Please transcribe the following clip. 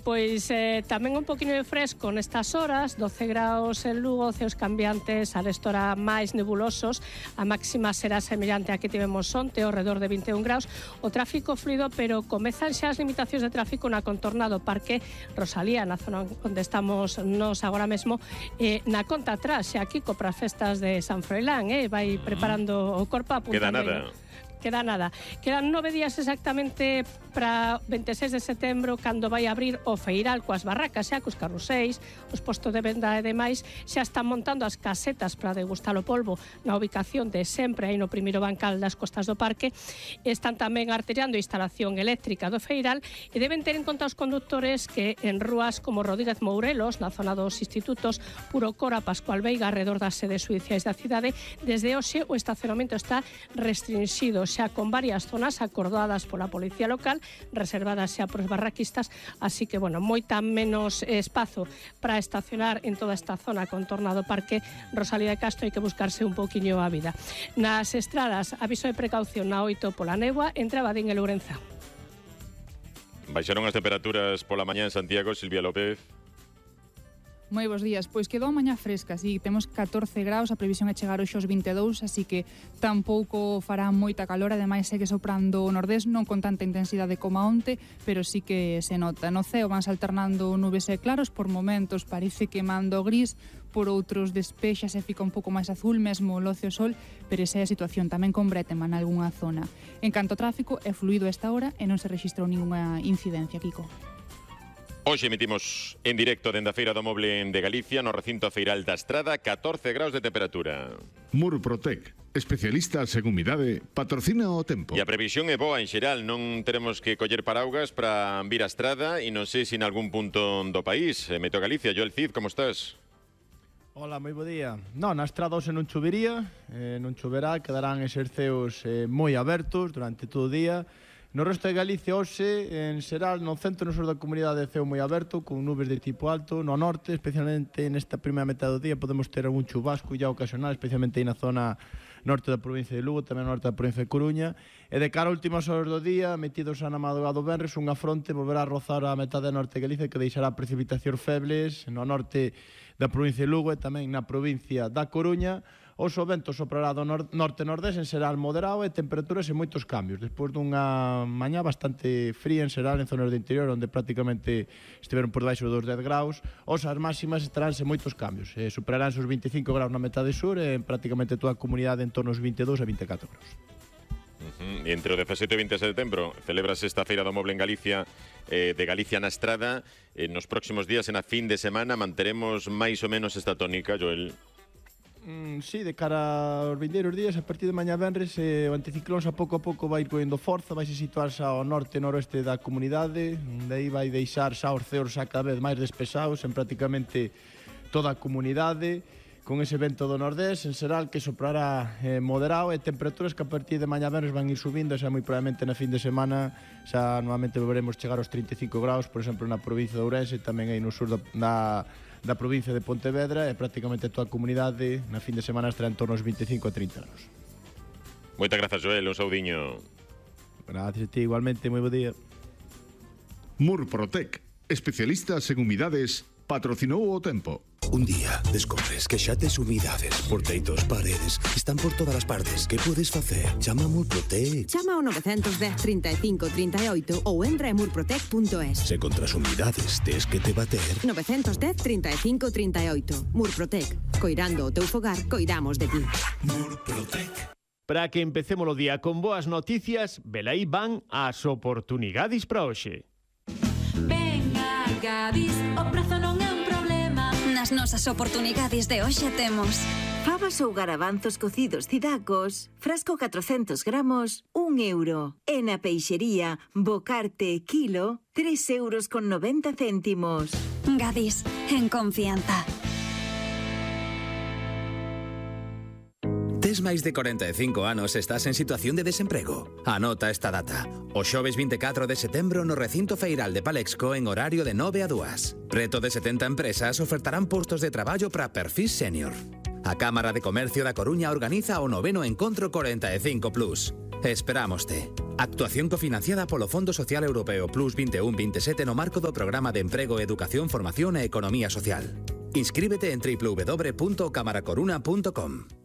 Pois tamén un poquinho de fresco nestas horas, 12 graus en Lugo, ceos cambiantes, arestora máis nebulosos, a máxima será semellante a que tivemos onte, ao redor de 21 graus, o tráfico fluido, pero comezan xa as limitacións de tráfico na contorna do Parque Rosalía, na zona onde estamos nos agora mesmo, na conta atrás, xa Kiko, para as festas de San Froilán, vai preparando o corpo a punta. Queda nada. Quedan 9 días exactamente para 26 de setembro, cando vai abrir o feiral coas barracas, xa cos carruseis, os postos de venda e demais, xa están montando as casetas para degustar o polvo na ubicación de sempre aí no primeiro bancal das costas do parque. Están tamén artellando a instalación eléctrica do feiral e deben ter en conta os condutores que en rúas como Rodríguez Mourelos, na zona dos institutos Puro Cora, Pascual Veiga, alrededor das sedes judiciais da cidade, desde hoxe o estacionamento está restringido, xa con varias zonas acordadas pola policía local, reservadas xa por os barraquistas, así que, bueno, moita menos espazo para estacionar en toda esta zona contorna do Parque Rosalía de Castro. Hai que buscarse un poquinho a vida. Nas estradas, aviso de precaución na 8 pola néboa entre Abadín e Lourenza. Baixaron as temperaturas pola mañá en Santiago, Silvia López. Moi bons días, pois quedou a mañá fresca, así temos 14 graus, a previsión é chegar hoxe aos 22, así que tampouco fará moita calor, ademais segue soprando o nordés, non con tanta intensidade como onte, pero sí que se nota. No ceo vanse alternando nubes e claros, por momentos parece queimando gris, por outros despexas e fica un pouco máis azul, mesmo loce o sol, pero esa é a situación, tamén con brétema nalgúnha zona. En canto ao tráfico, é fluido a esta hora e non se rexistrou ninguna incidencia, Kiko. Hoxe emitimos en directo dende a Feira do Moble de Galicia, no recinto feiral da Estrada, 14 graus de temperatura. Murprotec, especialista en umidade, patrocina o tempo. E a previsión é boa en xeral, non teremos que coller paraugas para vir a Estrada e non sei se en algún punto do país. Meteo Galicia, Joel Cid, como estás? Hola, moi bo día. Non, na Estrada hoxe non chovería, non choverá, quedarán eses ceos moi abertos durante todo o día. No resto de Galicia hoxe, en xeral, no centro e no sur da comunidade de ceo moi aberto, con nubes de tipo alto. No norte, especialmente nesta primeira metade do día, podemos ter algún chubasco ya ocasional, especialmente aí na zona norte da provincia de Lugo, tamén no norte da provincia de Coruña. E de cara a últimas horas do día, metidos a na madrugada do venres, unha fronte volverá a rozar a metade norte de Galicia, que deixará precipitacións febles no norte da provincia de Lugo e tamén na provincia da Coruña. Os o vento soprará do norte-nordés en xeral moderado e temperaturas en moitos cambios. Despois dunha mañá bastante fría en xeral en zonas do interior, onde prácticamente estiveron por debaixo dos 10 graus, as máximas estarán en moitos cambios. Superarán os 25 graus na metade sur e en prácticamente toda a comunidade en torno aos 22 a 24 graus. E entre o 17 e 20 de setembro celebras esta Feira do Moble en Galicia, de Galicia na Estrada. Nos próximos días, en a fin de semana, manteremos máis ou menos esta tónica, Joel? Sí, de cara aos vindeiros días, a partir de mañá venres, o anticiclón a pouco vai ir coendo forza, vai se situar xa ao norte e noroeste da comunidade, de aí vai deixar xa os ceos xa cada vez máis despesados en prácticamente toda a comunidade, con ese vento do nordés, en xeral, que soprará moderado, e temperaturas que a partir de mañá venres van ir subindo, xa moi probablemente na fin de semana xa normalmente volveremos chegar aos 35 graus, por exemplo, na provincia de Ourense, tamén aí no sur da provincia de Pontevedra, e prácticamente toda a comunidade na fin de semana estará en torno aos 25 a 30 graus. Moitas grazas, Joel, un saudiño. Gracias a ti, igualmente, moi bo día. Murprotec, especialistas en humidades, patrocinou o tempo. Un día descobres que xa tes humidades por teitos, paredes, están por todas as partes. Que podes facer? Chama a Murprotec. Chama ao 910 35 38 ou entra en murprotec.es. Se contra as humidades tes que te bater. 910 35 38. Murprotec. Coirando o teu fogar, coidamos de ti. Murprotec. Para que empecemos o día con boas noticias, velaí van as oportunidades para hoxe. Venga, Gadis, o prazo non é un problema. Nas nosas oportunidades de hoxe temos fabas ou garabanzos cocidos cidacos, frasco 400 gramos, 1 euro. E na peixería, bocarte kilo, 3,90 €. Gadis, en confianza. Tes máis de 45 anos e estás en situación de desemprego? Anota esta data. O xoves 24 de setembro no recinto feiral de Palexco en horario de 9 a 2. Preto de 70 empresas ofertarán postos de traballo para perfil senior. A Cámara de Comercio da Coruña organiza o 9º Encontro 45+. Esperámoste. Actuación cofinanciada polo Fondo Social Europeo Plus 21-27 no marco do Programa de Emprego, Educación, Formación e Economía Social. Inscríbete en www.camaracoruna.com.